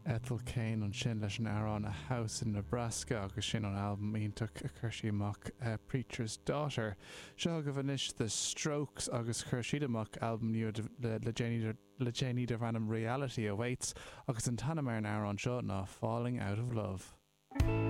Ethel Cain ansin leis an amhrán A House in Nebraska agus sin ón albam iontach a chuir sí amach Preacher's Daughter. Seo chugaibh anois The Strokes agus chuir siad amach albam nua le déanaí darb ainm Reality Awaits agus an t-ainm ar an amhrán seo ná Falling Out of Love.